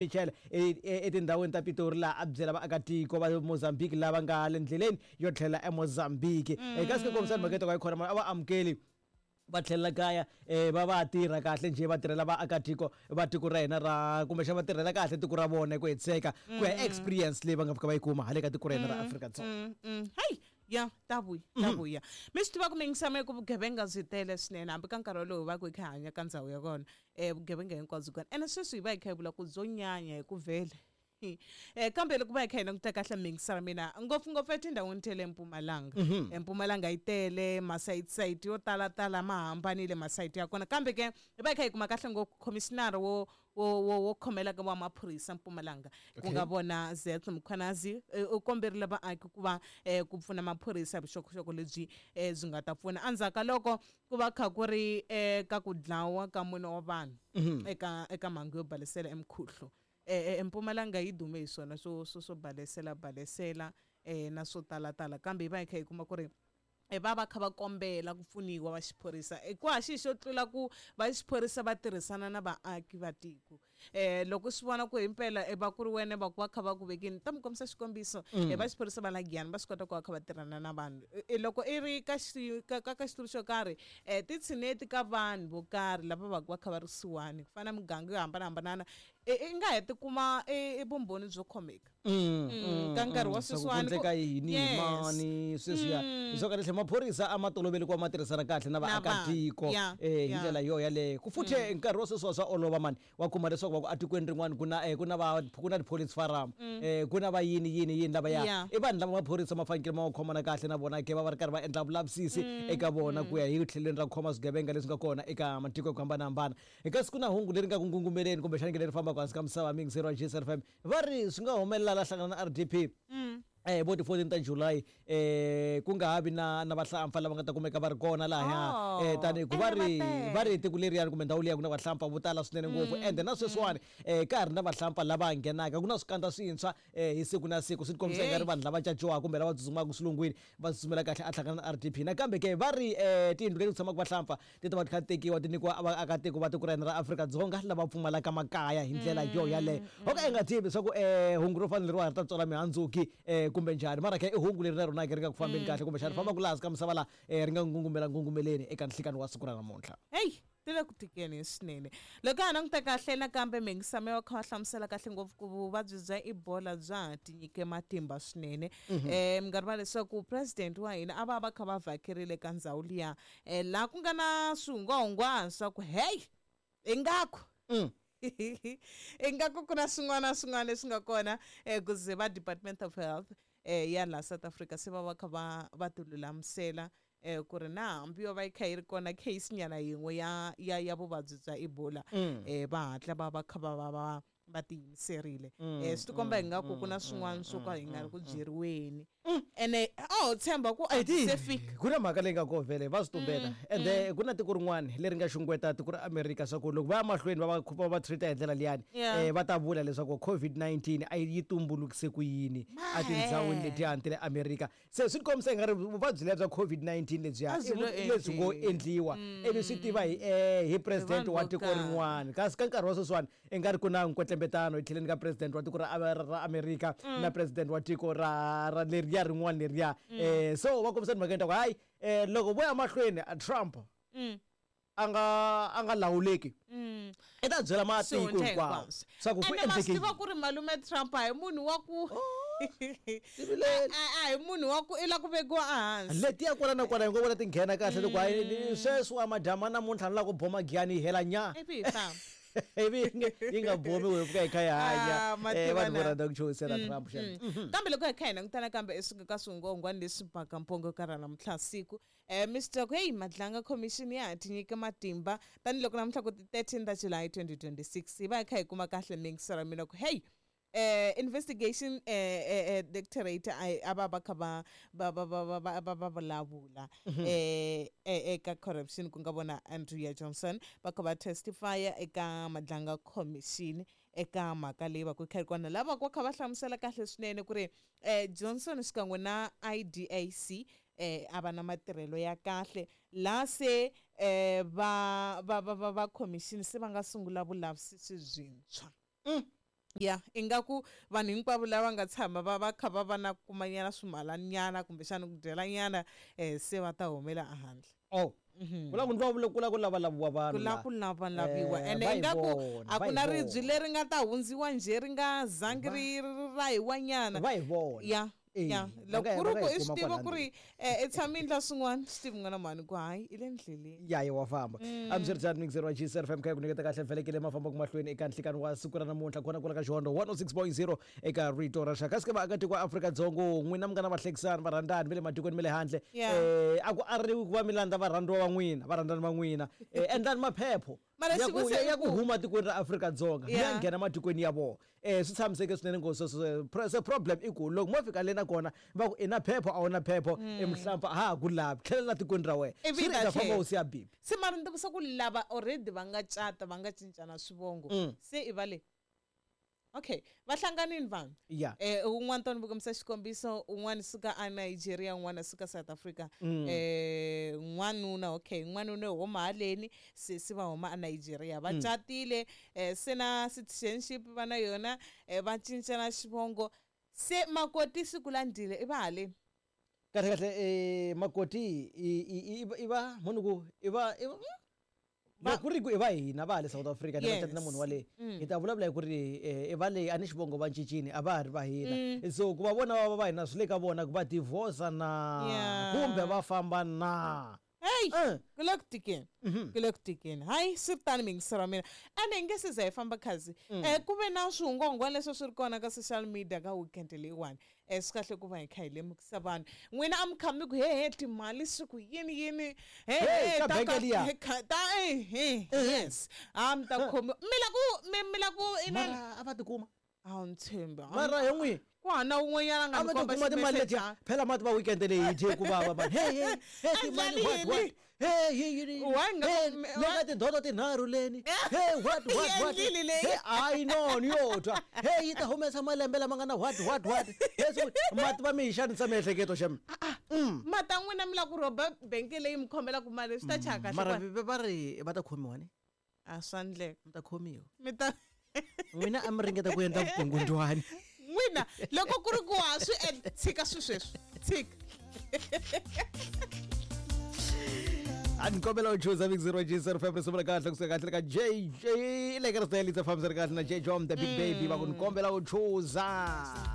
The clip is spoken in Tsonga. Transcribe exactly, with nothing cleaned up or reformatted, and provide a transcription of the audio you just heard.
Michel etindhawini ta Pitori laha a byela vaakatiko va Mozambique lava nga le ndleleni yo tlhela eMozambique. Eka siku kombisa mhaka yi khona a va amukeli va tlhelela kaya eh va va tirha kahle njhe va tirhela vaakatiko va tiko ra hina ra kumbexana va tirhela kahle tiko ra vona hi ku hetiseka ku ya experience leyi va nga fika va yi kuma hale ka tiko ra hina ra Afrika-Dzonga. Hey ya ta vuya ta vuya mi swi tiva ku mingisama ku vugevenga byi tele swinene hambi ka nkarhi wolowo va ku hi kha hi hanya ka ndhawu ya kona um vugevenga hinkwabyo kona ene sweswi hi va hi kha hi vula ku byo nyanya hi ku vhele eh kambe loko va hi kha hi languta kahle mingisara mina ngopfungopfu etindhawini ta le Mpumalanga. Mpumalanga yi tele masayiti yo talatala ma hambanile masayiti ya kona kambe ke hi va hi kha hi kuma kahle ngopfu commissioner wo wo wo wo khomela ka wa maphorisa Mpumalanga ku nga vona Zet Mkhwanazi u komberile vaaki ku va ku pfuna maphorisa hi vuxokoxoko lebyi byi nga ta pfuna endzhaku ka loko ku va kha ku ri ka ku dlawa ka mune wa vanhu eka eka mhangu yo balesela emkhuhlu. Eh Mpumalanga yi dume hi swona swo swo swo balesela balesela eh na swo talatala kambe hi va hi kha hi kuma ku ri va va kha va kombela ku pfuniwa va xiphorisa ku ha xi xo tlula ku va xiphorisa va tirhisana na vaaki va tiko eh loko swi vona ku himpela va ku ri wena va ku va kha va ku vekini ta mi kombisa xikombiso va xiphorisa va la Giyani va swi kota ku va kha va tirhana na vanhu loko i ri ka ka ka xitulu xo karhi ti tshineti ka vanhu vo karhi lava va ku va kha va ri kusuhani ku fana na miganga yo hambanahambana i nga ha tikuma i vumbhoni byo khomeka ka nkarhi wa sweswiwani ku endleka yini mani sweswiya swo kahle maphorisa a ma toloveli ku va ma tirhisana kahle na vaakatiko eh hi ndlela yo yaleyo ku futhe nkarhi wa sweswiwa swa olova mani wa kuma leswaku va ku atikweni rin'wana ku na ku na va ku na ti-police farm eh ku na va yini yini yini lava ya i vanhu lava maphorisa ma fanekele ma va khomana kahle na vona ke va va ri karhi va endla vulavisisi eka vona ku ya hi tlhelweni ra ku khoma swigevenga leswi nga kona eka matiko ya ku hambanahambana. Eka siku na hungu leri nga ku ngungumeleni kumbexana leri fambaka hansi ka misava mingiseri wa G S F M va ri swi nga humelela la hlangana na R D P eh bo ti fourteen ta July eh ku nga ha vi na na vahlampfa lava nga ta kumeka va ri kona lahaya eh tani ku va ri va ri tiko leriyani kumbe ndhawu liya ku na vahlampfa vo tala swinene ngopfu ende na sweswiwani eh ka ha ri na vahlampfa lava nghenaka ku na swikandza swintshwa eh hi siku na siku swi tikombisa nga ri vanhu lava caciwaka kumbe lava tsutsumaka swilungwini va tsutsumela kahle a hlangana na R D P nakambe ke va ri eh tiyindlu leti ku tshamaka vahlampfa ti ta va ti kha ti tekiwa ti nyikiwa vaakatiko va tiko ra hina ra Afrika-Dzonga lava pfumalaka makaya hi ndlela yo yaleyo ho ka i nga tivi leswaku eh hungu ro fana leriwa ri ta tswala mihandzuki eh kumbe njhani mara ke i hungu leri na rona ke ri nga ku fambeni kahle kumbexana ri fambaka laha hansi ka misava laha ri nga ngungumela ngungumeleni eka nhlikani wa siku ra namuntlha. Hey ti le ku tikeni swinene loko ha languta kahle nakambe mingisame wa kha va hlamusela kahle ngopfu ku vuvabyi bya Ebola bya ha tinyike matimba swinene um mi nga rivala leswaku president wa hina a va va kha va vhakerile ka ndhawu liya um laha ku nga na swihungwahungwana swa ku hey ingaku ingaku ku na swin'wana na swin'wana leswi nga kona um ku ze va Department of Health eh ya la South Africa se va va kha va va tilulamisela eh ku ri na hambi yo va yi kha yi ri kona case nyana yin'we ya ya ya vuvabyi bya Ebola eh va hatla va va kha va va va va tiyimiserile eh swi tikomba ingaku ku na swin'wana swo ka hi nga ri ku byeriweni ene a ho tshemba ku a se fika ku na mhaka leyi nga ko vhele va swi tumbela ende ku na tiko rin'wana leri nga xungeta tiko ra Amerika swa ku loko va ya mahlweni va va va va treat hi ndlela liyani eh va ta vula leswaku COVID nineteen a yi tumbulukise ku yini a tindhawini letiyani ta le Amerika se swi tikombisa nga ri vuvabyi lebya COVID nineteen lebyiya lebyi ngo endliwa ivi swi tiva hi hi president wa tiko rin'wana kasi ka nkarhi wa sweswiwani i nga ri ku na nkwetlembetano hi tlheleni ka president wa tiko ra ra Amerika na president wa tiko ra ra leriya rin'wana leriya eh so va kombisa timhaka ta ku hayi eh loko vo ya mahlweni Trump a nga a nga lawuleki i ta byela matiko hinkwawo swa ku ku endleke tiva ku ri malume Trump a hi munhu wa ku a hi munhu wa ku i la ku vekiwa ehansi letiya kwala na kwala hi ngo vona ti nghena kahle loko hayi sweswi wa madyama namuntlha ni lava ku boma Giyani yi hela nya ivi hi famba ivi yi nga bomi hi fika hi kha hi hanya vanhu vo rhandza ku chuhisela Trump xana. Kambe loko hi kha hi langutana kambe esuka ka swihungwahungwana leswi baka mpongo ka ra namuntlha siku eh Mister ku hey Madlanga Commission ya ha tinyike matimba tanihiloko namuntlha ku ti thirteen ta July twenty twenty-six hi va hi kha hi kuma kahle mingisera mina ku hey eh investigation eh eh directorate a va va kha va va va va va va va vulavula eh eka corruption ku nga vona Andrea Johnson va kha va testify eka Madlanga Commission eka mhaka leyi va ku kha ri kona lava va kha va hlamusela kahle swinene ku ri eh Johnson xikan'we na I D A C eh a va na matirhelo ya kahle la se eh va va va va commission se va nga sungula vulavisisi byintshwa. Ya, ingaku vanhu hinkwavo lava nga tshama va va kha va va na kumanyana swimalanyana kumbexana ku dyelanyana um se va ta humela ehandle. Oh, ku la ku ndla ku la ku lavalaviwa vanhu ku la ku lavalaviwa ene ingaku a ku na ribyi leri nga ta hundziwa njhe ri nga zangi ri rahiwanyana. Va hi vona. Ya, ya loko ku ri ku i swi tiva ku ri i tshame endla swin'wana swi tivi n'wana mhani ku hayi i le ndleleni. Ya yi wa famba. Amswiritano mixer wa G S F M kha ku nyiketa kahle vhelekele mafamba ku mahlweni eka nhlikani wa siku ra namuntlha kona kwala ka Xihondlo one oh six point zero eka Rito ra Rixaka. Kasi vaakatiko wa Afrika-Dzonga n'wina mi nga na vahlekisani varhandzani va le matikweni ma le handle eh a ku ariwi ku va mi landza varhandziwa va n'wina varhandzani va n'wina endlani maphepho ya ku huma tikweni ra Afrika-Dzonga mi ya nghena matikweni ya vona. Eh swi tshamiseke swinene ngopfu se problem i ku loko mo fika le na kona va ku i na phepho a wu na phepho i muhlampfa a ha ku lavi tlhelela tikweni ra wena swi ri ta famba u siya bibi. Se mara ni tivisa ku lava already va nga cata va nga cincana swivongo se i va le okay va hlanganini vanhu. Eh un'wana tani vukomisa xikombiso un'wana suka a Nigeria un'wana suka South Africa eh n'wanuna okay n'wanuna huma haleni sesi va huma a Nigeria va catile eh se na citizenship va na yona va cincana xivongo se makoti siku landile i va haleni. Kahle kahle eh makoti i i va munhu ku i va va ku ri ku i va hina va le South Africa ni va na munhu wa le hi ta vulavula hi ku ri i va le a ni xivongo va cincini a va ha ri va hina so ku va vona va va hina swi le ka vona ku va divorce na kumbe va famba na. Hey, ku le ku tikeni ku le ku tikeni hayi swi ri tani mingisero wa mina ene hi nge se za hi famba khazi um ku ve na swihungwahungwana leswi swi ri kona ka social media ka weekend leyiwani um swi kahle ku va hi kha hi lemukisa vanhu n'wina a mi kha mi ku he he timali swi ku yini yini he he ta he yes a mi ta khomiwa mi la ku mi la ku mara a va tikuma a wu ni tshembi mara hi n'wi ku hana un'wanyana nga ni komba timali letiya phela mati va weekend leyi yi dye ku vava mani hey hey hey timali what what hey yi le ka tindoto tinharhu leni hey what what what hey I know ni yo twa hey yi ta humesa malembe lama nga na what what what mati va mi hi xanisa miehleketo xem mata n'wina mi la ku rhoba benke leyi mi khomelaka mali swi ta chaya kahle mara va ri va ta khomiwa ni a swa ndleka mi ta khomiwa mi ta n'wina a mi ringeta ku endla vukungundzwani n'wina loko ku ri ku ha swi tshika swi sweswi tshika. A ni kombela u chuza Big Zero G zero five risimu ra kahle kusuka kahle ka J J le ka risimu leri fambisa kahle na J Jom the Big Baby va ku ni kombela u chuza.